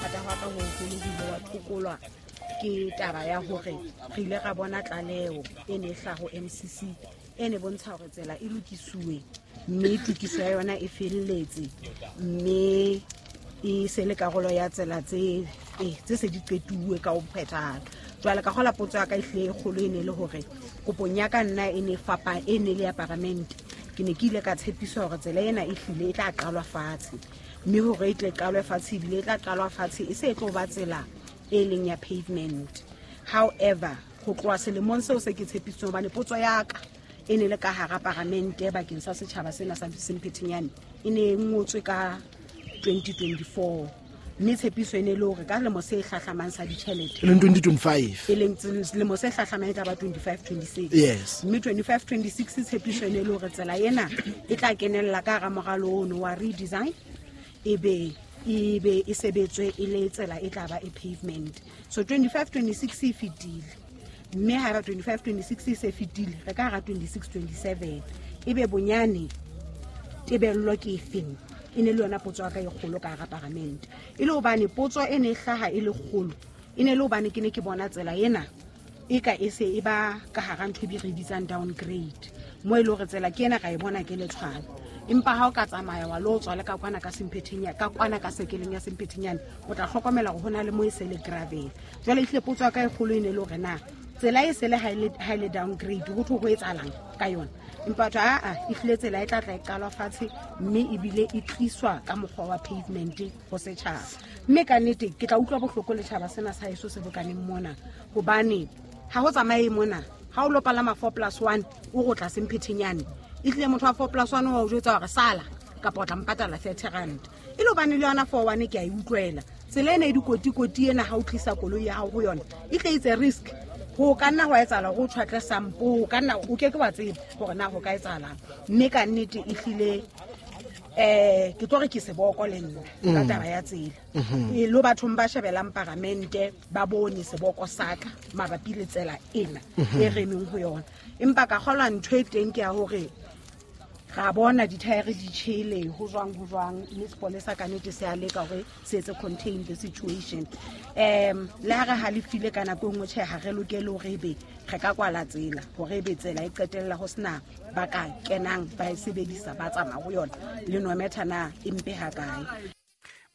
Ho rata hwa ka ho hoholo ho ile wa thokolwa ke taba ya hore re ile ra bona tlaleho e ne e hlaha ho MCC e ne bontsha hore tsela e lokisuwe, mme tokiso ya yona e felletse, mme e se le karolo ya tsela tse se di qetuwe ka ho phethahala. Jwale ka kgola potso ya ka ehlile e kgolo e ne le hore kopong ya ka nna e ne fapa, e ne le ya paramente. Ke ne ke ile ka tshepiswa hore tsela ena e hlile e tla qalwa fatshe, mme hore e tle qalwe fatshe ebile e tla qalwa fatshe e se e tlo ba tsela e leng ya pavement. However, ho tloha selemong seo se ke tshepisitsweng, hobane potso ya ka e ne le ka hara paramente bakeng sa setjhaba sena sa Semphetenyane, e ne e ngotswe ka 2024, mme tshepiso e ne le hore ka selemo se hlahlamang sa ditjhelete, e leng 2025, e leng selemo se hlahlamang e tla ba 25-26. Mme 25-26 tshepiso e ne le hore tsela ena e tla kenella ka hara moralo ono wa redesign, e be e sebetswe e le tsela e tla ba e pavement. So 25-26 e fetile, mme haeba 25-26 e se fetile, re ka hara 26-27, ebe bonyane tebello ke efeng? E ne le yona potso ya ka e kgolo ka hara paramente. E le hobane potso e ne e hlaha e le kgolo, e ne le hobane ke ne ke bona tsela ena e ka e se e ba ka hara ntho e be re bitsang downgrade, mo e le hore tsela ke ena ra e bona ke letshwana, empa ha o ka tsamaya wa lo tswa le ka kwana ka Semphetenyane, ka kwana ka sekeleng ya Semphetenyane, o tla hlokomela hore ho na le mo e se le gravel. Jwale ehlile potso ya ka e kgolo e ne le hore na tsela e se le ha e le downgrade, ho thwe ho etsahalang ka yona? Empa batho, aa, ehlile tsela e tla tla e qalwa fatshe, mme ebile e tliswa ka mokgwa wa pavement ho setjhaba. Mme ka nnete ke tla utlwa bohloko le tjhaba sena sa heso se bokaneng mona, hobane ha ho tsamaye mona, ha o lo palama four plus one, o go tla Semphetenyane, ehlile motho wa four plus one wa o jwetsa hore sala kapa o tla mpatala 30 rand. E le hobane le yona four one ke a e utlwela, tsela ena e dikotikoti ena, ha o tlisa koloi ya hao ho yona, e tle itse risk ho ka nna hwa etsahala hore o tjhwatle sampo, ho ka nna o ke ke wa tseba hore na ho ka etsahalang. Mme ka nnete ehlile, ke tlo re ke seboko le nna ka taba ya tsela. E lo bathong ba shebelang paramente ba bone seboko sa ka mabapi le tsela ena e re emeng ho yona. Empa ka kgolwa ntho e teng ke ya hore ra bona dithaere di tjhele, ho jwang, ho jwang, mme sepolesa ka nnete se a leka hore se etse contain the situation. Le ha re halefile ka nako e nngwe, tjhe, ha re lokele hore ebe re ka kwala tsela, hore ebe tsela e qetella ho sena ba ka kenang ba e sebedisa ba tsamaya ho yona, le no metha na e mpe ha kae.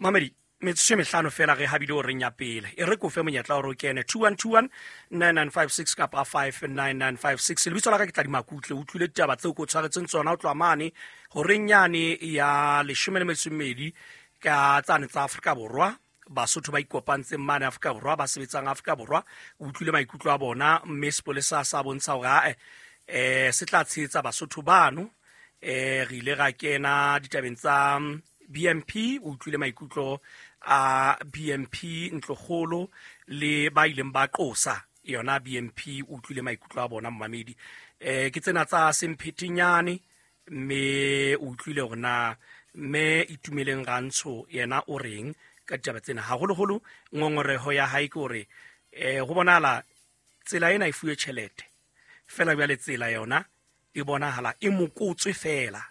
Mamedi, metsotso e mehlano fela re habile o reng ya pele. E re kofe monyetla hore o kene 2121 9956 kapa 59956. Lebitso la ka ke Tladi Makutle. O utlwile ditaba tseo ke o tshwaretseng tsona ho tloha mane horeng yane ya 12 ka tsane tsa Afrika Borwa. Basotho ba ikopantseng mane Afrika Borwa, ba sebetsang Afrika Borwa, o utlwile maikutlo a bona, mme sepolesa sa bontsha hore ae, se tla tshehetsa Basotho bano. Re ile ra kena ditabeng tsa BNP, o utlwile maikutlo a BNP ntlokgolo le ba ileng ba qosa yona BNP, o utlwile maikutlo a bona momamedi. Ke tsena tsa Semphetenyane, mme o utlwile hore na mme Itumeleng Rantsho yena o reng ka ditaba tsena. Haholoholo ngongoreho ya hae ke hore, ho bonahala tsela ena e fuwe tjhelete fela, jwale tsela yona e bonahala e mokotswe fela.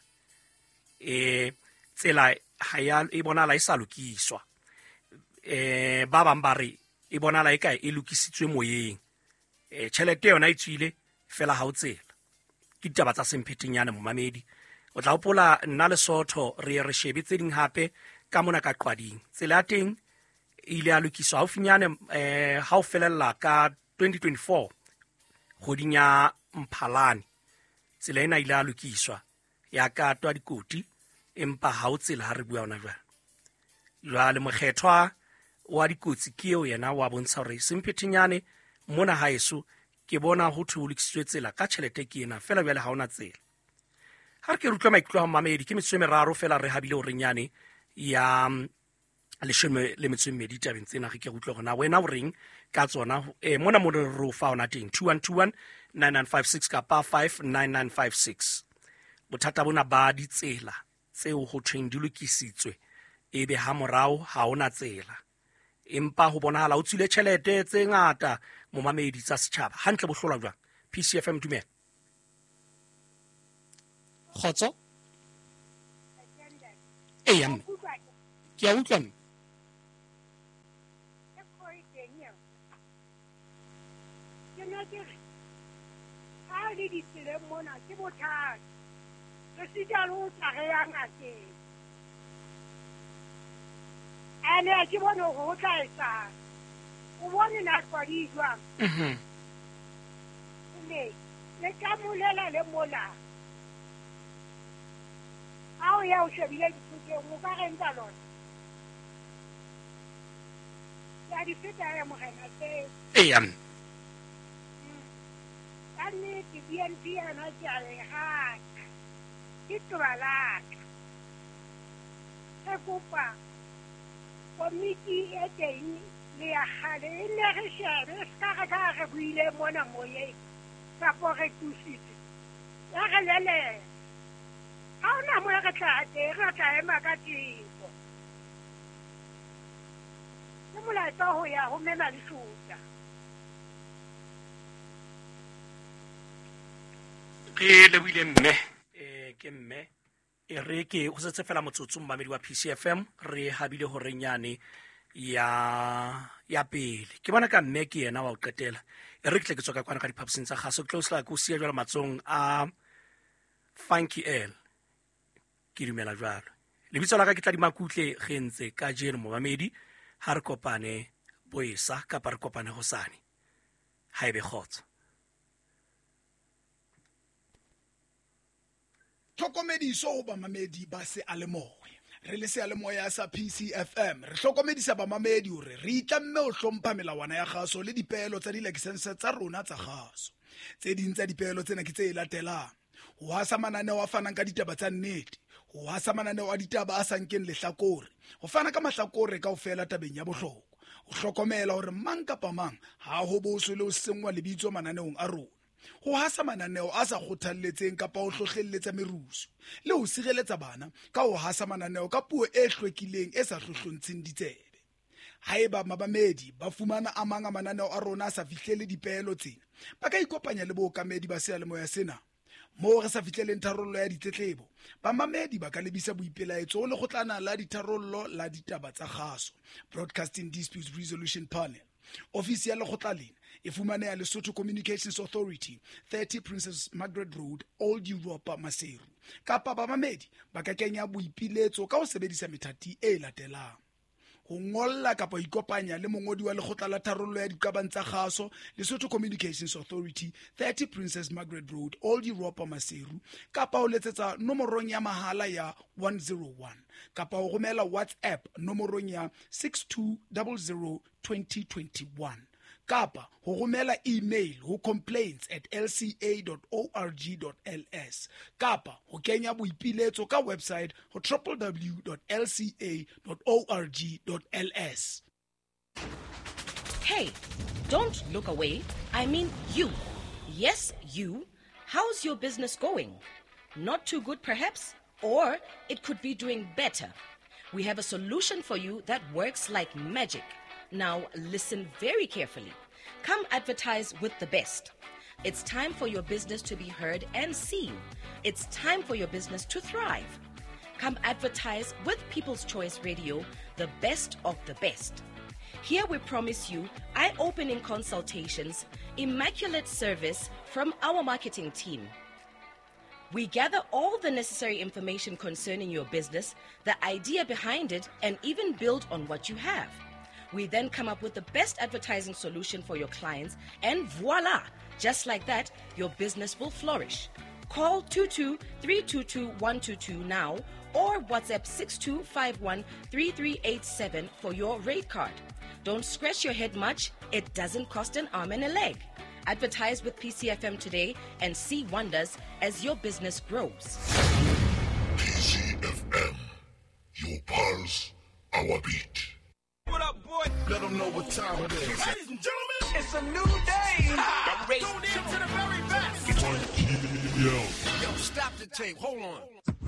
Tsela ha ya, e bonahala e sa lokiswa. Ba bang ba re e bonahala e ka e lokisitswe moyeng. Tjhelete yona e tswile fela ha o tsela. Ke ditaba tsa Semphetenyane momamedi. O tla hopola nna Lesotho re ye re shebe tse ding hape ka mona ka Qwading. Tsela ya teng e ile ya lokiswa haufinyane, ha o felella ka 2024 kgweding ya Mphalane. Tsela ena e ile ya lokiswa ya katwa dikoti, empa ha o tsela ha re bua hona jwale. Jwale mokgethwa wa dikotsi ke eo yena wa bontsha hore Semphetenyane mona haeso ke bona ho thwe ho lokisitswe tsela ka tjhelete ke ena fela, jwale ha hona tsela. Ha re ke re utlwe maikutlo a mamedi, ke metsotso e meraro fela re habile horeng yane ya 12 tabeng tsena, re ke re utlwe hore na wena o reng ka tsona. Mona mo re o fa hona teng 2121 9956 kapa 59956. Bothata bona ba ditsela tseo ho thweng di lokisitswe, ebe ha morao ha hona tsela, empa ho bonahala o tswile tjhelete tse ngata momamedi tsa setjhaba. Hantle bo hlolwa jwang? PCFM, dumela. Kgotso? Eya mme, ke a utlwa mme. e teng eo. Ke ne ke re ha le ditseleng mona ke bothata. Re sita le ho tla re ya ngakeng. Ene ha ke bone hore ho tla etsang. O bone nako di jwang? Le ka molela le mola. Ha o ya o shebile dithutong o ka reng ka lona? Ya di feta ya morena tseo. Eya. Ka nnete BNP yona ke a e rata. Ke toba la ka. Re kopa komiti e teng le ya kgale e nne re shebe se ka re ka re buile mona moyeng kapo re tusitse. Ya re lelele. Ha hona mo re tla teng, re tla ema ka teko. Ke molaetsa ho ya ho mema lesota. Re lebohile mme, ke mme e re ke ho setse fela motsotso mmamedi wa PCFM re habile horeng yane ya pele. Ke bona ka mme ke yena wa ho qetela. E re ke tle ke tswa ka kwana ka diphaposing tsa kgaso, ke tlo sela ke o siya jwalo matsohong a Funky L. Ke dumela jwalo. Lebitso la ka ke Tladi Makutle re ntse kajeno momamedi, ha re kopane boesa kapa re kopane hosane. Ha ebe kgotso. Tlhokomediso ho bamamedi ba seyalemoya. Re le seyalemoya sa PCFM re hlokomedisa bamamedi hore re itlamme ho hlompha melawana ya kgaso le dipeelo tsa dilakesense tsa rona tsa kgaso. Tse ding tsa dipeelo tsena ke tse latelang: ho hasa mananeo a fanang ka ditaba tsa nnete, ho hasa mananeo a ditaba a sa nkeng lehlakore, ho fana ka mahlakore kaofela tabeng ya bohlokwa, ho hlokomela hore mang kapa mang ha ho boswe le ho senngwa lebitso mananeong a rona, ho hasa mananeo a sa kgothalletseng kapa ho hlohlelletsa merusu, le ho sireletsa bana ka ho hasa mananeo ka puo e hlwekileng e sa hlohlontsheng ditsebe. Haeba mabamedi ba fumana a mang a mananeo a rona a sa fihlele dipeelo tsena, ba ka ikopanya le bookamedi ba seyalemoya sena. Moo re sa fihleleng tharollo ya ditletlebo, bamamedi ba ka lebisa boipelaetso ho lekgotlana la ditharollo la ditaba tsa kgaso, Broadcasting Disputes Resolution Panel. Ofisi ya lekgotla lena e fumaneha Lesotho Communications Authority, 30 Princess Margaret Road, Old Europa, Maseru. Kapa bamamedi ba ka kenya boipiletso ka ho sebedisa methati e latelang: ho ngolla kapa ho ikopanya le mongodi wa lekgotla la tharollo ya diqabang tsa kgaso, Lesotho Communications Authority, 30 Princess Margaret Road, Old Europa, Maseru, kapa ho letsetsa nomorong ya mahala ya 101, kapa ho romela WhatsApp nomorong ya 6200 2021, kapa ho romela email ho complaints@lca.org.ls, kapa ho kenya boipiletso ka website ho www.lca.org.ls. Hey, don't look away. I mean you. Yes, you. How's your business going? Not too good, perhaps? Or it could be doing better. We have a solution for you that works like magic. Now, listen very carefully. Come advertise with the best. It's time for your business to be heard and seen. It's time for your business to thrive. Come advertise with People's Choice Radio, the best of the best. Here we promise you eye-opening consultations, immaculate service from our marketing team. We gather all the necessary information concerning your business, the idea behind it, and even build on what you have. We then come up with the best advertising solution for your clients, and voila! Just like that, your business will flourish. Call 22-322-122 now or WhatsApp 6251-3387 for your rate card. Don't scratch your head much. It doesn't cost an arm and a leg. Advertise with PCFM today and see wonders as your business grows. PCFM, your pulse, our beat. What up, boy? Let them know what time it is. Ladies and gentlemen, it's a new day. Tune in to the very best. Yo, stop the tape. Hold on.